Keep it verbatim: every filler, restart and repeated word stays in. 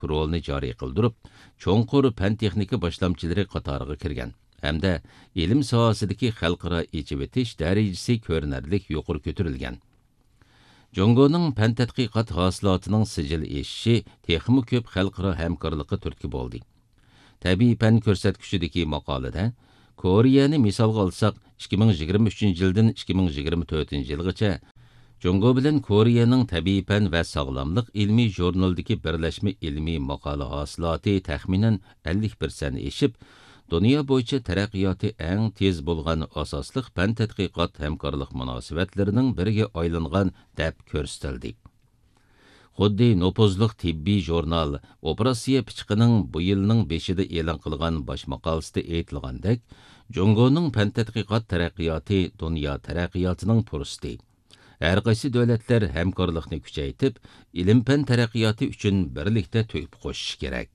ئاكتىپ رولىنى جارى قىلدۇرۇپ، چوڭقۇر پەن-تېخنىكا باشلامچىلىرى قاتارىغا كىرگەن ھەمدە ئىلىم ساھەسىدىكى خەلقئارا ئېچىۋېتىش دەرىجىسى كۆرۈنەرلىك يۇقىرى كۆتۈرۈلگەن. جۇڭگونىڭ پەن تەتقىقات ھاسىلاتىنىڭ سىجىل ئېشىشى تېخىمۇ كۆپ خەلقئارا ھەمكارلىققا تۈرتكە بولدى. تەبىئىي پەن كۆرسەتكۈچىدىكى ماقالىدە، كورېيەنى مىسالغا ئالساق، ئىككى مىڭ يىگىرمە ئۈچىنچى يىلدىن ئىككى مىڭ يىگىرمە تۆتىنچى يىلغىچە جۇڭگو بىلەن كورېيەنىڭ تەبىئىي پەن ۋە ساغلاملىق ئىلمىي ژۇرنىلىدىكى بىرلەشمە ئىلمىي ماقالە ھاسىلاتى تەخمىنەن ئەللىك پىرسەنت ئېشىپ، دۇنيا بويىچە تەرەققىياتى ئەڭ تېز بولغان ئاساسلىق پەن تەتقىقات ھەمكارلىق مۇناسىۋەتلىرىنىڭ بىرىگە ئايلانغان دەپ كۆرسىتىلدى. خۇددى نوپۇزلۇق تېببىي ژۇرنال ئوپېراتسىيە پىچىقىنىڭ بۇ يىلنىڭ بېشىدا ئېلان قىلغان باش ماقالىسىدە ئېيتىلغاندەك، جۇڭگونىڭ پەن تەتقىقات تەرەققىياتى دۇنيا تەرەققىياتىنىڭ پۇرسىتى. ھەر قايسى دۆلەتلەر ھەمكارلىقنى كۈچەيتىپ، ئىلىم-پەن تەرەققىياتى ئۈچۈن بىرلىكتە تۆھپە قوشۇشى كېرەك.